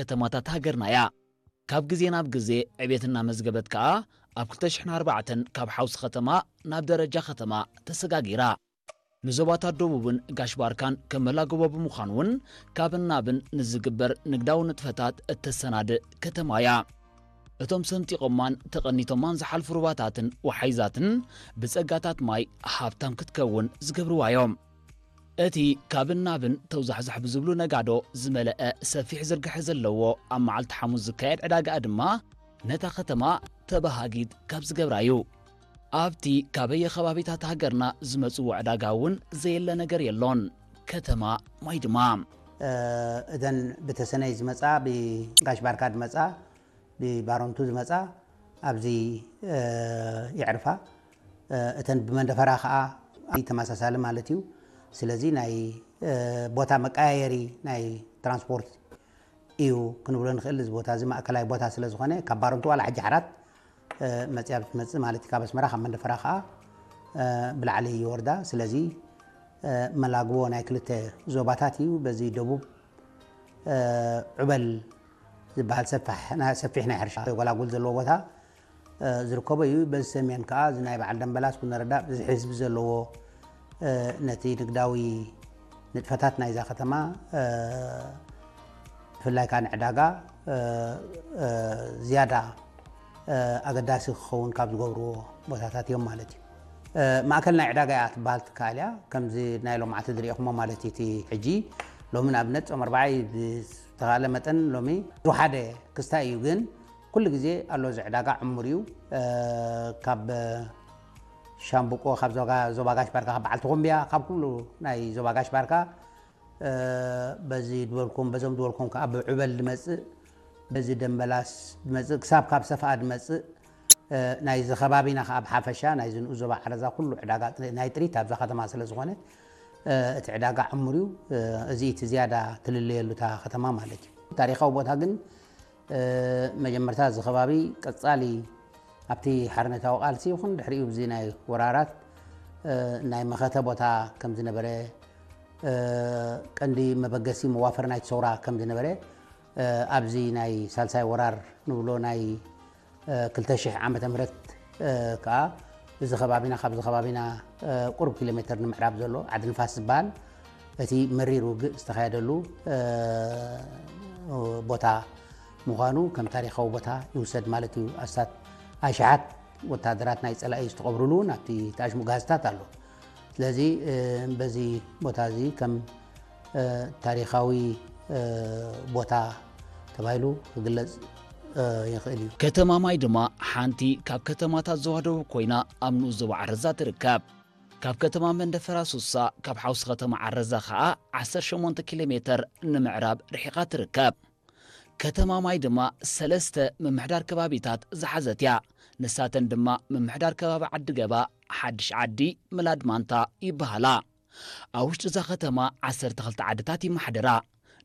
ከተማታት ሃገርና እያ። ካብ ግዜ ናብ ግዜ ዕቤት እናመዝገበት ከኣ ኣብ ክልተ ሽሕን ኣርባዕተን ካብ ሓውሲ ከተማ ናብ ደረጃ ከተማ ተሰጋጊራ። ንዞባታት ደቡብን ጋሽ ባርካን ከም መላጎቦ ብምዃን እውን ካብን ናብን ንዝግበር ንግዳዊ ንጥፈታት እተሰናድእ ከተማ እያ። እቶም ሰንጢቖማን ተቐኒቶማን ዝሓልፉ ሩባታትን ወሓይዛትን ብጸጋታት ማይ ሃብታም ክትከውን ዝገብርዋ እዮም። እቲ ካብን ናብን ተውዛሕዛሕ ብዝብሉ ነጋዶ ዝመልአ ሰፊሕ ዝርግሐ ዘለዎ ኣብ መዓልቲ ሓሙስ ዝካየድ ዕዳጋኣ ድማ ነታ ከተማ ተበሃጊት ካብ ዝገብራ እዩ። ኣብቲ ካበየ ከባቢታት ሃገርና ዝመጽዎ ዕዳጋ እውን ዘየለ ነገር የሎን። ከተማ ማይ ድማ እተን ብተሰነይ ዝመጻ ብጋሽ ባርካ ዝመጻ ብባሮንቱ ዝመጻ ኣብዚ የዕርፋ። እተን ብመንደፈራ ከዓ ተመሳሳሊ ማለት እዩ። ስለዚ ናይ ቦታ መቀያየሪ ናይ ትራንስፖርት እዩ ክንብሎ ንኽእል። እዚ ቦታ እዚ ማእከላይ ቦታ ስለ ዝኾነ ካብ ባሮንቱ ዋላ ሕጂ ሓራት መፅያ ብትመፅእ ማለት እዩ። ካብ ኣስመራ ካብ መንደፈራ ከዓ ብላዕሊ ይወርዳ። ስለዚ መላግቦ ናይ ክልተ ዞባታት እዩ። በዚ ደቡብ ዑበል ዝበሃል ሰፊሕ ናይ ሕርሻ ጎላጉል ዘለዎ ቦታ ዝርከቦ እዩ። በዚ ሰሜን ከዓ እዚ ናይ በዓል ደንበላስ ኩነረዳ ብዝሒ ህዝቢ ዘለዎ ነቲ ንግዳዊ ንጥፈታት ናይዛ ከተማ ብፍላይ ከዓ ንዕዳጋ ዝያዳ ኣገዳሲ ክኸውን ካብ ዝገብርዎ ቦታታት እዮም ማለት እዩ። ማእከል ናይ ዕዳጋ እያ ትበሃል ትከኣል እያ። ከምዚ ናይ ሎማዕቲ ዝሪእኹሞ ማለት እዩ። እቲ ሕጂ ሎሚ ንኣብነት ጾም ኣርባዓ እዩ። ብዝተኻለ መጠን ሎሚ ዝወሓደ ክስታይ እዩ፣ ግን ኩሉ ግዜ ኣሎ እዚ ዕዳጋ ዕሙር እዩ። ካብ ሻምብቆ ካብ ዞባ ጋሽ ባርካ ካብ በዓል ተኾምቢያ ካብ ኩሉ ናይ ዞባ ጋሽ ባርካ በዚ ዝበልኩም በዞም ዝበልኩም ከዓ ብዑበል ዝመፅእ በዚ ደንበላስ ዝመፅእ ክሳብ ካብ ሰፍኣ ዝመፅእ ናይዚ ከባቢና ከዓ ብሓፈሻ ናይዚ ንኡስ ዞባ ዓረዛ ኩሉ ዕዳጋ ናይ ጥሪት ኣብዛ ከተማ ስለ ዝኾነ እቲ ዕዳጋ ዕሙር እዩ። እዚ እቲ ዝያዳ ትልለየሉ እታ ከተማ ማለት እዩ። ታሪኻዊ ቦታ ግን መጀመርታ እዚ ከባቢ ቀጻሊ ኣብቲ ሓርነታዊ ቃልሲ ይኹን ድሕሪኡ ብዚ ናይ ወራራት ናይ መኸተ ቦታ ከም ዝነበረ ቀንዲ መበገሲ መዋፈር ናይቲ ሰውራ ከም ዝነበረ ኣብዚ ናይ ሳልሳይ ወራር ንብሎ ናይ ክልተ ሽሕ ዓመተ ምህረት ከዓ እዚ ከባቢና ካብዚ ከባቢና ቁሩብ ኪሎ ሜትር ንምዕራብ ዘሎ ዓዲ ንፋስ ዝበሃል እቲ መሪር ውግእ ዝተኻየደሉ ቦታ ምዃኑ ከም ታሪኻዊ ቦታ ይውሰድ ማለት እዩ። ኣስታት ኣሽሓት ወታደራት ናይ ፀላኢ ዝተቐብሩሉ እውን ኣብቲ ተኣሽሙ ጋዝታት ኣሎ። ስለዚ በዚ ቦታ እዚ ከም ታሪኻዊ ቦታ ተባሂሉ ክግለጽ ይኽእል እዩ። ከተማ ማይ ድማ ሓንቲ ካብ ከተማታት ዞባ ደቡብ ኮይና ኣብ ንኡስ ዞባ ዓረዛ ትርከብ። ካብ ከተማ መንደፈራ ሱሳ ካብ ሓውሲ ከተማ ዓረዛ ኸኣ ዓሰርተ ሸሞንተ ኪሎ ሜተር ንምዕራብ ርሒቓ ትርከብ። ከተማ ማይ ድማ ሰለስተ ምምሕዳር ከባቢታት ዝሓዘት እያ። ንሳተን ድማ ምምሕዳር ከባቢ ዓዲ ገባ፣ ሓድሽ ዓዲ፣ ምላድ ማንታ ይበሃላ። ኣብ ውሽጢ እዛ ከተማ ዓሰርተ ክልተ ዓድታት ይመሓደራ።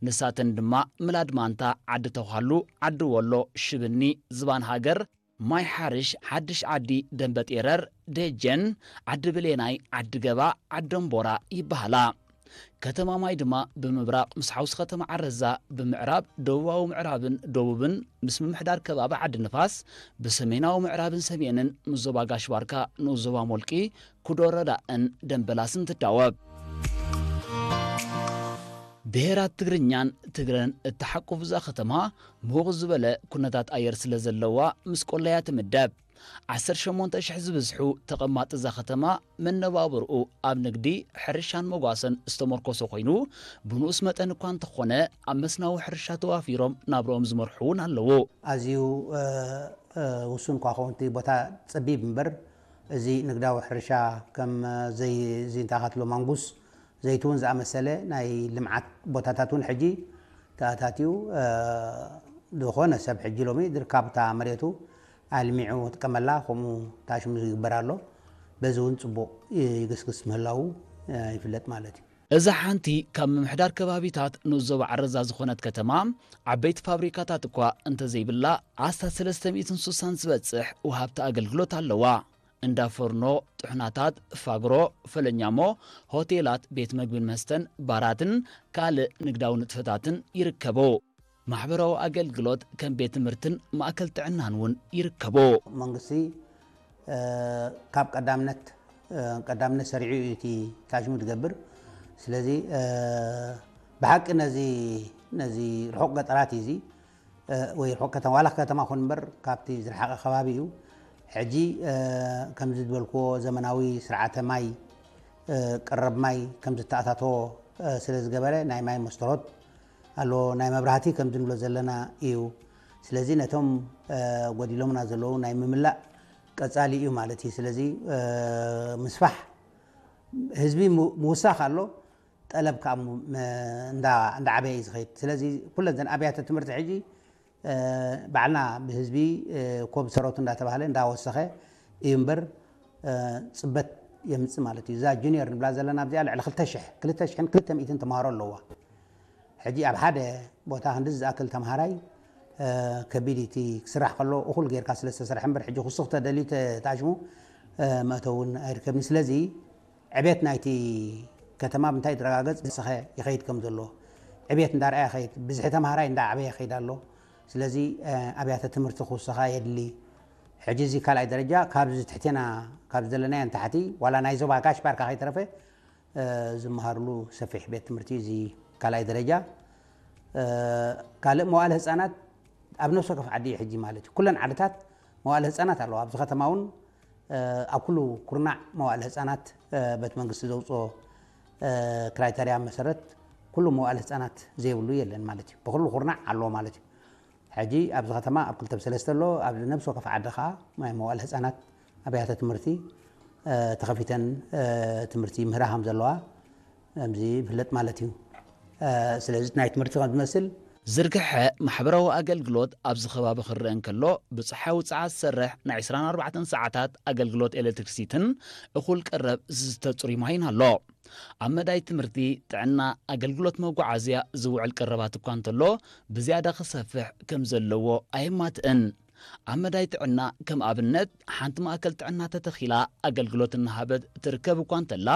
ንሳተን ድማ ምላድ ማንታ፣ ዓዲ ተዃሉ፣ ዓዲ ወሎ፣ ሽብኒ፣ ዝባን ሃገር፣ ማይ ሓርሽ፣ ሓድሽ ዓዲ፣ ደንበ ጤረር፣ ደጀን፣ ዓዲ ብሌናይ፣ ዓዲ ገባ፣ ዓዲ ደንቦራ ይበሃላ። ከተማ ማይ ድማ ብምብራቕ ምስ ሓውሲ ከተማ ዓረዛ፣ ብምዕራብ ደቡባዊ ምዕራብን ደቡብን ምስ ምምሕዳር ከባቢ ዓዲ ንፋስ፣ ብሰሜናዊ ምዕራብን ሰሜንን ምስ ዞባ ጋሽ ባርካ፣ ንኡስ ዞባ ሞልቂ፣ ኩዶ ረዳእን ደንበላስን ትዳወብ። ብሄራት ትግርኛን ትግረን እተሓቁፍዛ ከተማ ምውቕ ዝበለ ኩነታት ኣየር ስለ ዘለዋ ምስ ቆላያ ትምደብ። ዓሰርተ ሸሞንተ ሽሕ ዝብዝሑ ተቐማጢ እዛ ከተማ መነባብርኡ ኣብ ንግዲ፣ ሕርሻን መጓሰን ዝተመርኮሰ ኮይኑ፣ ብንኡስ መጠን እኳ እንተኾነ ኣብ መስናዊ ሕርሻ ተዋፊሮም ናብርኦም ዝመርሑ እውን ኣለዉ። ኣዝዩ ውሱን እኳ ኸውን እቲ ቦታ ጸቢብ እምበር፣ እዚ ንግዳዊ ሕርሻ ከም ዘይ እዚ እንታይ ካትሎ ማንጉስ፣ ዘይትውን ዝኣመሰለ ናይ ልምዓት ቦታታት እውን ሕጂ ተኣታትዩ ዝኾነ ሰብ ሕጂ ሎሚ ዝርካብ እታ መሬቱ ኣልሚዑ ጥቀመላ ከምኡ ታሽሙ ይግበር ኣሎ። በዚ እውን ፅቡቕ ይግስግስ ምህላው ይፍለጥ ማለት እዩ። እዛ ሓንቲ ካብ ምምሕዳር ከባቢታት ንኡስ ዞባ ዓረዛ ዝኾነት ከተማ ዓበይቲ ፋብሪካታት እኳ እንተዘይብላ ኣስታት ሰለስተ ሚእትን ስሳን ዝበፅሕ ወሃብቲ ኣገልግሎት ኣለዋ። እንዳ ፎርኖ፣ ጥሕናታት፣ ፋግሮ፣ ፈለኛሞ፣ ሆቴላት፣ ቤት መግብን መስተን፣ ባራትን ካልእ ንግዳዊ ንጥፈታትን ይርከቡ። ማሕበራዊ ኣገልግሎት ከም ቤት ትምህርትን ማእከል ጥዕናን እውን ይርከቦ። መንግስቲ ካብ ቀዳምነት ቀዳምነት ሰሪዑ እዩ እቲ ታሽሙ ዝገብር። ስለዚ ብሓቂ ነዚ ነዚ ርሑቕ ገጠራት እዩ እዚ ወይ ርሑቕ ከተማ ዋላ ከተማ ኹን እምበር ካብቲ ዝረሓቐ ከባቢ እዩ። ሕጂ ከምዚ ዝበልክዎ ዘመናዊ ስርዓተ ማይ ቀረብ ማይ ከም ዝተኣታተዎ ስለ ዝገበረ ናይ ማይ መስተሮት ኣሎ ናይ መብራህቲ ከም ዝንብሎ ዘለና እዩ። ስለዚ ነቶም ጎዲሎምና ዘለዉ ናይ ምምላእ ቀጻሊ እዩ ማለት እዩ። ስለዚ ምስፋሕ ህዝቢ ምውሳኽ ኣሎ፣ ጠለብ ከዓ እንዳዓበየ እዩ ዝኸይድ። ስለዚ ኩለን ዘን ኣብያተ ትምህርቲ ሕጂ ባዕልና ብህዝቢ ኮብ ሰረቱ እንዳተባሃለ እንዳወሰኸ እዩ እምበር ፅበት የምፅእ ማለት እዩ። እዛ ጁኒየር ንብላ ዘለና ኣብዚኣ ልዕሊ ክልተ ሽሕ ክልተ ሽሕን ክልተ ሚእትን ተምሃሮ ኣለዋ። ሕጂ ኣብ ሓደ ቦታ ክንዲ ዝኣክል ተምሃራይ ከቢድ እቲ ክስራሕ ከሎ እኹል ጌርካ ስለ ዝተሰርሐ እምበር ሕጂ ክሱኽ ተደልዩ ተታሽሙ መእተውን ኣይርከብን። ስለዚ ዕቤት ናይቲ ከተማ ብምንታይ ይረጋገጽ ዝሰኸ ይኸይድ ከም ዘሎ ዕቤት እንዳርኣየ ይኸይድ፣ ብዝሒ ተምሃራይ እንዳዓበየ ይኸይድ ኣሎ። ስለዚ ኣብያተ ትምህርቲ ክውሰኻ የድሊ። ሕጂ እዚ ካልኣይ ደረጃ ካብዚ ትሕቴና ካብ ዘለናዮ ንታሕቲ ዋላ ናይ ዞባ ጋሽ ባርካ ከይተረፈ ዝመሃርሉ ሰፊሕ ቤት ትምህርቲ እዚ ካልኣይ ደረጃ። ካልእ መዋእለ ህፃናት ኣብ ነፍሲ ወከፍ ዓዲ እዩ ሕጂ ማለት እዩ። ኩለን ዓድታት መዋእለ ህፃናት ኣለዋ። ኣብዚ ከተማ እውን ኣብ ኩሉ ኩርናዕ መዋእለ ህፃናት በቲ መንግስቲ ዘውፅኦ ክራይተርያ መሰረት ኩሉ መዋእለ ህፃናት ዘይብሉ የለን ማለት እዩ። ብኩሉ ኩርናዕ ኣለዎ ማለት እዩ። ሕጂ ኣብዚ ከተማ ኣብ ክልተ ብሰለስተ ኣሎ። ኣብዚ ነብሲ ወከፍ ዓዲ ከዓ ናይ መዋእለ ህፃናት ኣብያተ ትምህርቲ ተኸፊተን ትምህርቲ ይምህራ ከም ዘለዋ ከምዚ ይፍለጥ ማለት እዩ። ስለዚ ናይ ትምህርቲ ከም ዝመስል ዝርግሐ ማሕበራዊ ኣገልግሎት ኣብዚ ከባቢ ክረአ እንከሎ ብፀሓይ ውፅዓት ዝሰርሕ ናይ ዕስራን ኣርባዕተን ሰዓታት ኣገልግሎት ኤሌክትሪክሲትን እኹል ቀረብ ዝዝተ ፅሩይ ማይን ኣሎ። ኣብ መዳይ ትምህርቲ፣ ጥዕና፣ ኣገልግሎት መጓዓዝያ ዝውዕል ቀረባት እኳ እንተሎ ብዝያዳ ክሰፍሕ ከም ዘለዎ ኣየማትእን። ኣብ መዳይ ጥዕና ከም ኣብነት ሓንቲ ማእከል ጥዕና ተተኺላ ኣገልግሎት እናሃበት ትርከብ እኳ እንተላ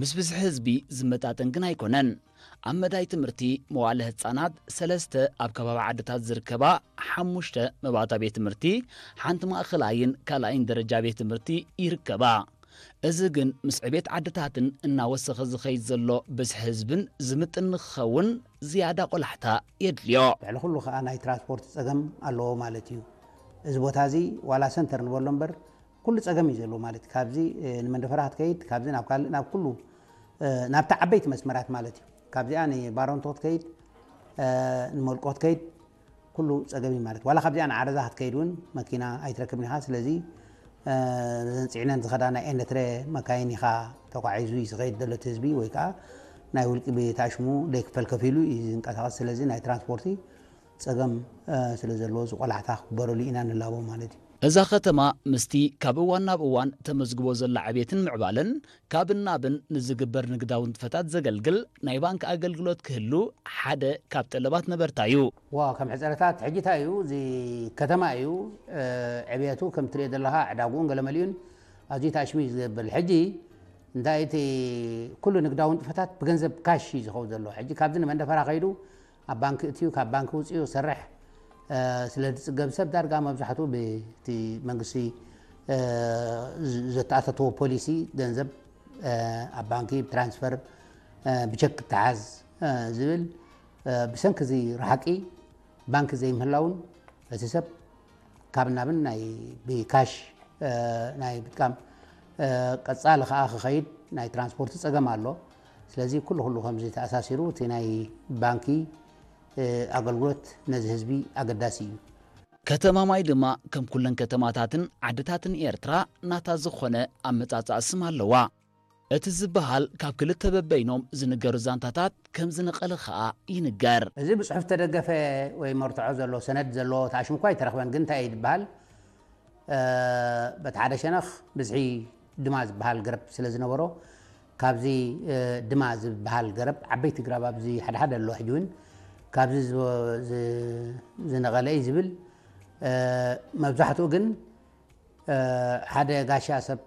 ምስ ብዝሒ ህዝቢ ዝመጣጠን ግን ኣይኮነን። ኣብ መዳይ ትምህርቲ መዋእለ ህፃናት ሰለስተ ኣብ ከባቢ ዓድታት ዝርከባ ሓሙሽተ መባእታ ቤት ትምህርቲ ሓንቲ ማእኸላይን ካልኣይን ደረጃ ቤት ትምህርቲ ይርከባ። እዚ ግን ምስ ዕቤት ዓድታትን እናወሰኸ ዝኸይድ ዘሎ ብዝሒ ህዝብን ዝምጥን ንክኸውን ዝያዳ ቆላሕታ የድልዮ። ልዕሊ ኩሉ ከዓ ናይ ትራንስፖርት ፀገም ኣለዎ ማለት እዩ። እዚ ቦታ እዚ ዋላ ሰንተር ንበሎ እምበር ኩሉ ፀገም እዩ ዘለዎ ማለት እዩ። ካብዚ ንመንደፈራ ክትከይድ ካብዚ ናብ ካልእ ናብ ኩሉ ናብቲ ዓበይቲ መስመራት ማለት እዩ። ካብዚኣ ንባረንቶ ክትከይድ ንመልቆ ክትከይድ ኩሉ ፀገም እዩ ማለት ዋላ ካብዚኣ ንዓረዛ ክትከይድ እውን መኪና ኣይትረክብን ኢኻ። ስለዚ እዘን ፅዕነን ዝኸዳ ናይ ኤነትረ መካይን ኢኻ ተጓዒዙ እዩ ዝኸይድ ዘሎ እቲ ህዝቢ ወይ ከዓ ናይ ውልቂ ቤት ኣሽሙ ደይክፈል ከፊሉ እዩ ዝንቀሳቐስ። ስለዚ ናይ ትራንስፖርቲ ፀገም ስለ ዘለዎ እዚ ቆላሕታ ክግበረሉ ኢና ንላቦ ማለት እዩ። እዛ ከተማ ምስቲ ካብ እዋን ናብ እዋን ተመዝግቦ ዘላ ዕቤትን ምዕባለን ካብን ናብን ንዝግበር ንግዳዊ ንጥፈታት ዘገልግል ናይ ባንክ ኣገልግሎት ክህሉ ሓደ ካብ ጠለባት ነበርታ እዩ። ዋ ከም ሕፀረታት ሕጂ እንታይ እዩ እዚ ከተማ እዩ ዕብየቱ ከም ትሪኦ ዘለኻ ዕዳግኡን ገለመሊኡን ኣዝዩ ታሽሙ እዩ ዝብል። ሕጂ እንታይ እቲ ኩሉ ንግዳዊ ንጥፈታት ብገንዘብ ካሽ እዩ ዝኸውን ዘሎ። ሕጂ ካብዚ ንመንደፈራ ከይዱ ኣብ ባንክ እትዩ ካብ ባንክ ውፅኡ ሰርሕ ስለ ዝፅገብ ሰብ ዳርጋ መብዛሕትኡ ብቲ መንግስቲ ዘተኣታተዎ ፖሊሲ ገንዘብ ኣብ ባንኪ ብትራንስፈር ብቸክ ክተሓዝ ዝብል ብሰንኪ እዚ ረሓቂ ባንኪ ዘይምህላውን እቲ ሰብ ካብ ናብን ናይ ብካሽ ናይ ምጥቃም ቀፃሊ ከዓ ክኸይድ ናይ ትራንስፖርት ፀገም ኣሎ። ስለዚ ኩሉ ኩሉ ከምዚ ተኣሳሲሩ እቲ ናይ ባንኪ ኣገልግሎት ነዚ ህዝቢ ኣገዳሲ እዩ። ከተማ ማይ ድማ ከም ኩለን ከተማታትን ዓድታትን ኤርትራ ናታ ዝኾነ ኣመጻጽኣ ስም ኣለዋ። እቲ ዝበሃል ካብ ክልተ በበይኖም ዝንገሩ ዛንታታት ከም ዝነቐለ ኸኣ ይንገር። እዚ ብጽሑፍ ተደገፈ ወይ መርትዖ ዘሎ ሰነድ ዘሎ ተኣሽሙ እኳ ኣይተረኽበን፣ ግን እንታይ እዩ ዝበሃል? በቲ ሓደ ሸነኽ ብዝሒ ድማ ዝበሃል ገረብ ስለ ዝነበሮ ካብዚ ድማ ዝበሃል ገረብ ዓበይቲ ግራብ ኣብዚ ሓደ ሓደ ኣሎ ሕጂ እውን ካብዚ ዝነቐለ እዩ ዝብል መብዛሕትኡ ግን ሓደ ጋሻ ሰብ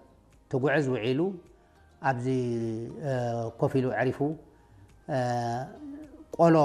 ትጉዕዝ ውዒሉ ኣብዚ ኮፍ ኢሉ ዕሪፉ ቆሎ